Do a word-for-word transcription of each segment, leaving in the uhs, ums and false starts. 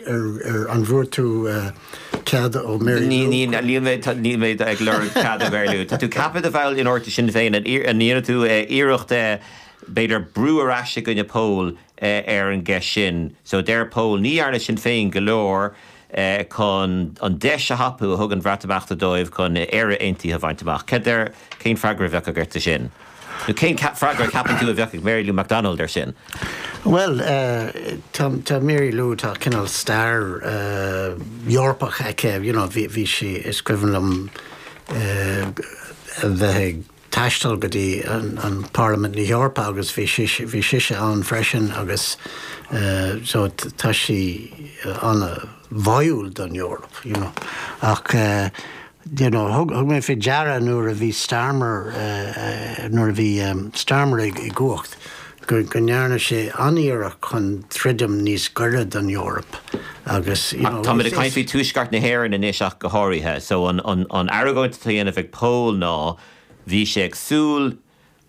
ar an bhfuair tú cead ó Mary Ní níl mé ag lorg cead ó Mary Lou. Tá tú ceaptha de bhall in orta Sinn Féin an ndéanfaidh tú iarracht b'fhéidir brú ar ais i gcoinne Pól ar an gceist sin. So deir Pól ní dhearna Sinn Féin go leor chun an deis a thapú a thug an Bhreatimeacht dóibh chun Éire Aontaithe a bhaint amach. Ceidir cén freagra a bheadh agat sin? Nó cén freagra ceapann tú a bheadh ag Mary Lou McDonald ar sin? Well uh, tá tá Mary Lou tá cineál stair uh, Eorpach aici you know, bhí bhí sí is cuimhin liom uh, a bheith ag taisteal go dtí an, an Parlaimint na hEorpa agus bhí bhí sise ann freisin agus uh, so tá sí an-bháúil don Eoraip you know. ach uh, you know, thug mé faoi deara nuair a bhí Starmer uh, uh, nuair a bhí um, Starmer ag i gcumhacht go go ndearna sé an-iarracht chun troidim níos gaire don Eoraip agus Tá ag caint faoi tuaisceart na hÉireann anois ach go háirithe, so an, an, an argóint atá á dhéanamh ag Pól ná bhí sé ag súil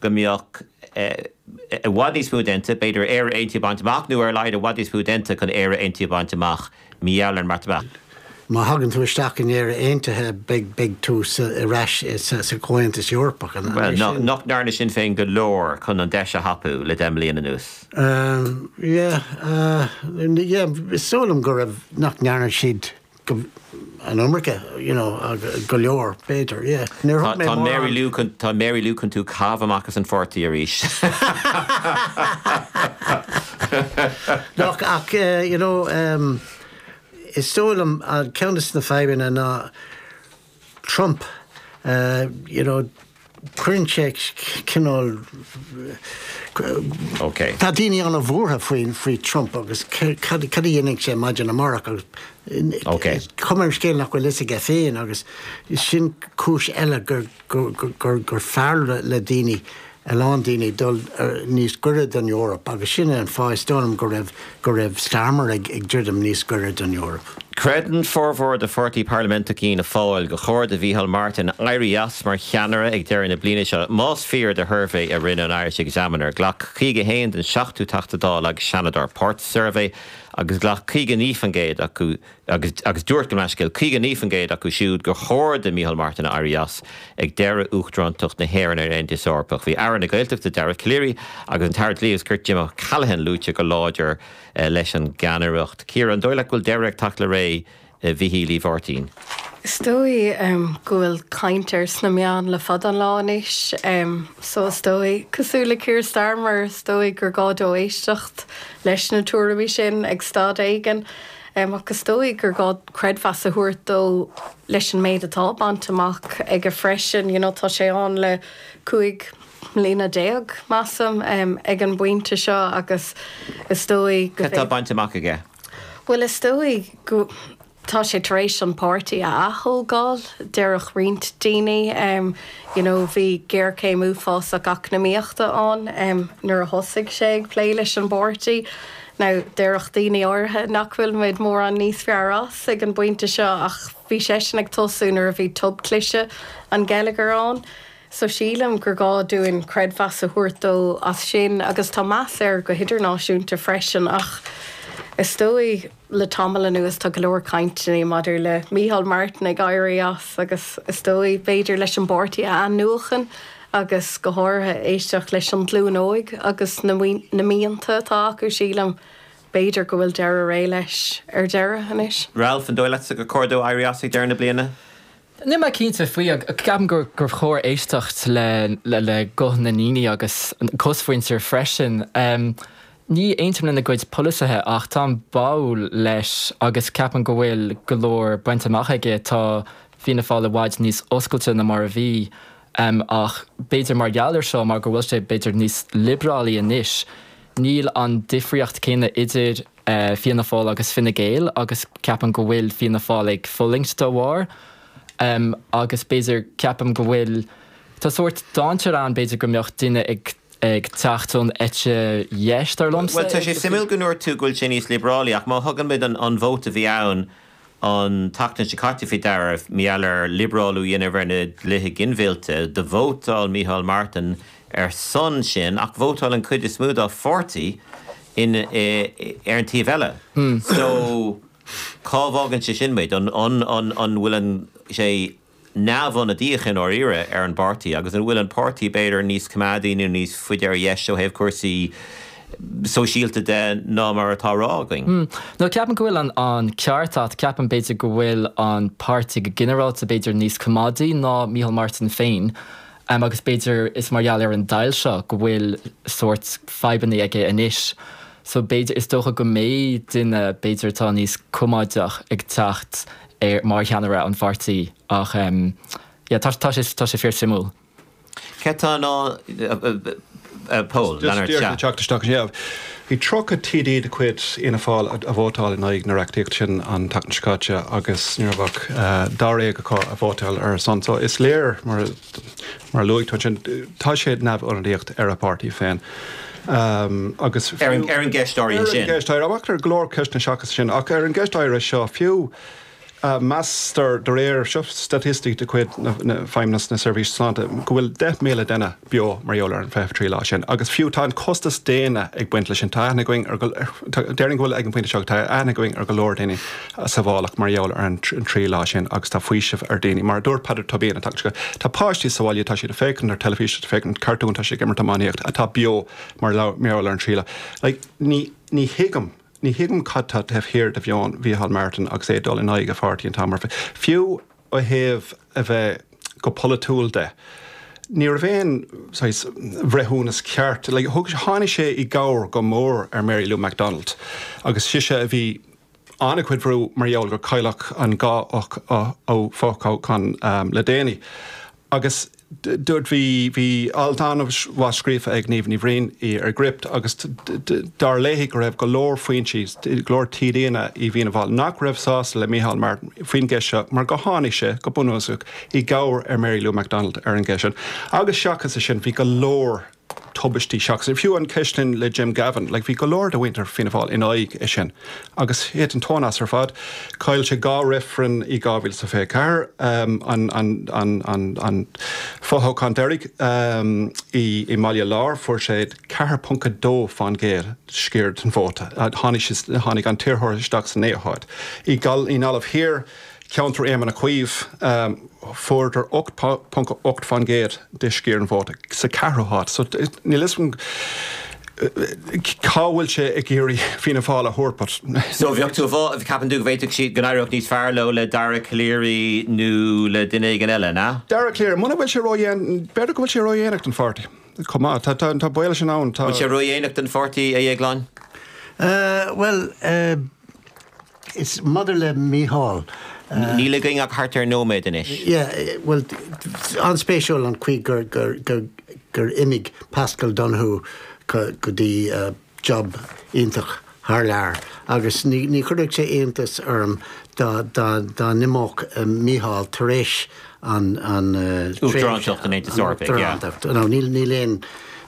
go mbeadh i bhfad níos mó déanta, b'fhéidir Éire Aontaithe bainte amach nó ar a laghad i bhfad níos mó déanta chun Éire Aontaithe bainte amach mí an Bhreatimeacht. Má thagann tú isteach in Éire Aontaithe beidh tú ar ais sa Chomhaontas Eorpach. Well, nach ndearna Sinn Féin go leor chun an deis a thapú le deich mbliana anuas. Um, yeah, uh, yeah, is dóigh liom go raibh nach ndearna siad an iomarca you know, go leor b'fhéidir yeah. Tá Mary Lou tá Mary Lou chun tú a chaitheamh amach as an pháirtí arís. Ach ach uh, you know, um, is dóigh liom an ceann de na fadhbanna ná Trump uh, you know, cuireann sé cineál Okay. Tá daoine an-bhuartha faoin faoi Trump agus cad a dhéanfaidh sé maidin amárach agus Okay. Cuma ar an scéal nach bhfuil a fhios aige féin agus sin cúis eile gur gur gur gur fearr le daoine a lán daoine dul níos gaire don Eoraip agus sin an fáth is dóigh liom go raibh go raibh Starmer ag ag druidim níos gaire don Eoraip. Creideann formhór de pháirtí parlaiminteach Fhianna Fáil go chóir do Mhícheál Martin éirí as mar cheannaire ag deireadh na bliana seo. Más fíor do shuirbhé a rinne an Irish Examiner, ghlac caoga haon den seachtó Teachta Dála agus Seanadóir páirt sa suirbhé agus ghlac caoga naoi faoin gcéad acu agus agus dúirt go meascail caoga naoi faoin gcéad acu siúd gur chóir do Mhícheál Martin éirí as ag deireadh uachtarántacht na hÉireann ar an Aontas Eorpach. Bhí Aire na Gaeltachta Dara Calleary agus an tAire Dlí agus Cirt Jim O'Callaghan luaite go láidir eh, leis an gceannaireacht. Ciara an dóigh leat go bhfuil deireadh ag teacht le ré eh, Mhichíl Uí Mháirtín. Is dóigh um, go bhfuil caint air sna meáin le fada an lá anois, um, so is dóigh cosúil le Keir Starmer is dóigh gur gá dó éisteacht leis na tuairimí sin ag staid éigin. Um, agus is dóigh gur gá creidmheas a thabhairt dó leis an méid atá bainte amach aige freisin, you know, tá sé ann le cúig mbliana déag measaim um, ag an bpointe seo agus is dóigh go Tá bainte amach aige. Well is dóigh go tá sé tar éis an páirtí a athógáil déarfadh roinnt daoine um, you know, bhí géarchéim uafásach eacnamaíochta ann um, nuair a thosaigh sé ag plé leis an bpáirtí. Now déarfadh daoine áirithe nach bhfuil muid mórán níos fearr as ag an bpointe seo ach bhí seisean ag tosú nuair a bhí tobchliseadh an gheilleagair ann. So sílim gur gá dúinn creidmheas a thabhairt dó as sin agus tá meas air go hidirnáisiúnta freisin ach is dóigh le tamall anuas tá go leor cainteanna maidir le Micheál Martin ag éirí as agus is dóigh b'fhéidir leis an bpáirtí a athnuachan agus go háirithe éisteacht leis an ghlúin óg agus na na mianta atá acu sílim b'fhéidir go bhfuil deireadh ré leis ar deireadh anois. Ralph an dóigh leatsa gur chóir dó éirí as ag deireadh na bliana? Níl mé cinnte faoi ceapaim gur gur chóir éisteacht le le le guth na ndaoine agus cosmhuintir freisin. Um, ní aontaím lena gcuid polasaithe ach táim báúil leis agus ceapaim go bhfuil go leor bainte amach aige tá Fianna Fáil i bhfad níos oscailte ná mar a bhí um, ach b'fhéidir mar gheall air seo mar go bhfuil sé b'fhéidir níos liobrálaí anois. Níl an difríocht céanna idir uh, Fianna Fáil agus Fine Gael agus ceapaim go bhfuil Fianna Fáil ag fulaingt dá bharr. Um, agus b'fhéidir ceapaim go bhfuil Tá sórt dainséar ann b'fhéidir go mbeadh duine ag ag teacht ón eite dheis dar liomsa. Well tá sé suimiúil go ndúirt tú go bhfuil sé níos liobrálaí ach má thugann muid an, an vóta a bhí ann an tseachtain seo caite faoi deara mar gheall ar liobrálú a dhéanamh ar na dlíthe ginmhillte, do vótáil Micheál Martin ar son sin ach vótáil an chuid is mó dá pháirtí in, e, ar an taobh eile. Mm. So Cá bhfágann sé sin muid an an an an bhfuil an sé neamhionadaíoch i ndáiríre ar an bpáirtí agus an bhfuil an páirtí b'fhéidir níos coimeádaí nó níos faide ar dheis ó thaobh cúrsaí sóisialta de ná mar atá á rá againn. No ceapaim go bhfuil an an ceart agat ceapaim b'fhéidir go bhfuil an páirtí go ginearálta b'fhéidir níos coimeádaí ná Micheál Martin féin. Um, agus b'fhéidir is mar gheall ar an deighilt seo go bhfuil sórt fadhbanna aige anois. So b'fhéidir is dócha go mbeidh duine b'fhéidir atá níos coimeádach ag teacht ar mar cheannaire an pháirtí ach um, yeah, tá tá sé tá sé fíorsuimiúil. Cé tá ná Paul teacht isteach yeah. Bhí tríocha TD de chuid Fhianna Fáil a vótáil in aghaidh na reachtaíocht sin an tseachtain seo caite agus ní raibh ach dáréag acu a vótáil ar a son. So is léir mar mar luaigh tú sin tá sé neamhionadaíoch ar a pháirtí féin. Um, agus ar an ar an gceist áirithe sin. Ceist amach ar go leor ceisteanna seachas sin ach ar an gceist áirithe seo fiú uh, meastar de réir seo staitisticí de chuid Feidhmeannas na Seirbhíse Sláinte go bhfuil deich míle duine beo mar gheall ar an fiche trí lá sin. agus fiú tá an costas daonna ag baint leis sin tá aithne againn ar déarfainn go bhfuil ag an bpointe seo tá aithne againn ar go leor daoine sa bhealach mar gheall ar an trí lá sin agus tá faoiseamh ar daoine. Mar dúirt Peadar Tóibín tá páistí sa bhaile tá siad ag féachaint ar teilifís féachaint cartún tá sé imirt iománaíocht atá beo mar gheall ar an trí lá. Like, ní ní thuigim Ní thuigim cad tá taobh thiar de mheon Mhícheál Martin agus é dul in aghaidh a pháirtí an t-am ar fad. Fiú ó thaobh a bheith go polaitiúil de. Ní raibh aon bhreithiúnas ceart, like, thug tháinig sé i gcabhair go mór ar Mary Lou McDonald agus sise a bhí an-chuid brú mar gheall gur cailleadh an dhá fhothoghchán um, le déanaí. Agus dúirt bhí bhí alt an-mhaith scríofa ag Niamh Ní Bhriain í ar Gript agus dar léi go raibh go leor foinsí go leor TDanna i bhFianna Fáil nach raibh sásta le Micheál Martin faoin gceist seo mar go tháinig sé go bunúsach i gcabhair ar Mary Lou McDonald ar an gceist sin. Agus seachas sin bhí go leor tubaistí seachas. Fiú an ceist sin le Jim Gavin, like, bhí go leor de mhuintir Fianna Fáil in aghaidh é sin. Agus thit an tóin as ar fad, chaill sé dhá reifreann i dhá mhíle sa fiche ceathair um, an, an, an, an, an fothoghchán deiridh um, i, i mBaile Láir fuair sé ceathair ponc a dó faoin gcéad sciar den vóta. Tháinig, tháinig an t-iarrthóir isteach sa naoú háit. I gal i nGaillimh Thiar, ceantar Éamon Ó Cuív um, fuaireadar ocht ponc ocht faoin gcéad de sciar an vóta sa ceathrú háit. So níl a fhios agam cá bhfuil sé ag iarraidh Fianna Fáil a thabhairt. So bheadh tú ceapann tú go bhféadfadh siad go n-éireodh níos fearr leo le Dara Calleary nó le duine éigin eile, ná? Dara Calleary, muna bhfuil sé ró-dhéan b'fhéidir go bhfuil sé ródhéanach don pháirtí. Chomh maith, tá tá baol sin ann tá. Bhfuil sé ródhéanach don pháirtí a Dhéagláin? Uh, well, uh, is maidir le Mícheál. Níl againn ach thart ar nóiméad anois. Yeah, well, an-spéisiúil an chaoi gur, gur, gur, gur imigh Pascal Donohoe go, go dtí uh, job iontach thar lear. Agus ní, ní chuirfeadh sé iontas orm dá, dá, dá n-imeodh uh, Mícheál tar éis an, an uh, Uachtarántacht an Aontais Eorpaigh, yeah. Uachtarántacht. No, níl, níl aon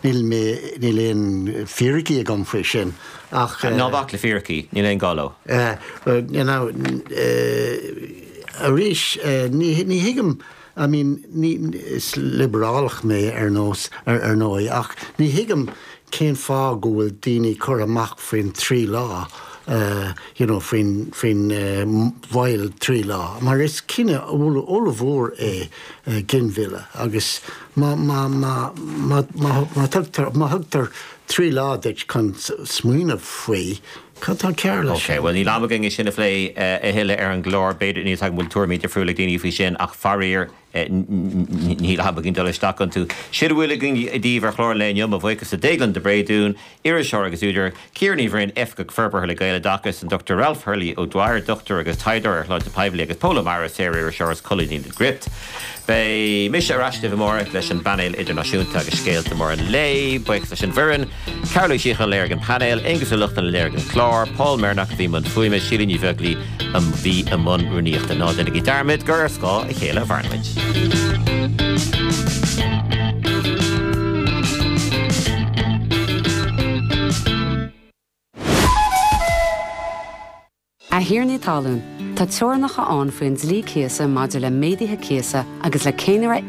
níl mé níl aon fíricí agam faoi sin ach Ná bac le fíricí, níl aon gá leo. Uh, well, you know, uh, arís uh, ní, ní thuigim I mean, ní, is liobrálach mé ar nós ar, ar ndóigh ach ní thuigim cén fáth go bhfuil daoine curtha amach faoin trí lá uh, you know, faoin faoin uh, mhoill trí lá. Mar is cinneadh ollmhór é uh, ginmhilleadh agus má má má má má má thugtar má thugtar trí lá duit chun smaoineamh faoi cad tá cearr leis. Ok, well níl am againn é sin a phlé a thuilleadh ar an gclár b'fhéidir níl a bhfuil tuairimí difriúla ag daoine faoi sin ach faraor níl am againn dul isteach iontu. Sin a bhfuil againn daoibh ar chlár an lae inniu mo bhuíochas le Déaglán de Bréadún, iriseoir agus údar, Ciara Ní Bhroin, Oifigeach Forbartha le Gaeloideachas, an Dochtúir Ralph Hurley O'Dwyer, dochtúir agus taighdeoir ar shláinte poiblí agus Pól Ó Mearáin, saoririseoir agus colúnaí le Gript. Beidh mise ar ais libh amárach leis an bpainéal idirnáisiúnta agus scéalta móra an lae, buíochas leis an bhfoireann, Carol Uí Shíocháin a léirigh an painéal, Aonghus Ó Lochlainn a léirigh an clár, Paul Meirneach a bhí i mbun fuaime, Síle Ní Bheaglaoí a bhí i mbun rúnaíochta. Ná déanaigí dearmad gur ar scáth a chéile a mhaireann muid. A thiarnaí talún, tá teorainneacha ann faoin dlí cíosa maidir le méaduithe cíosa agus le céanra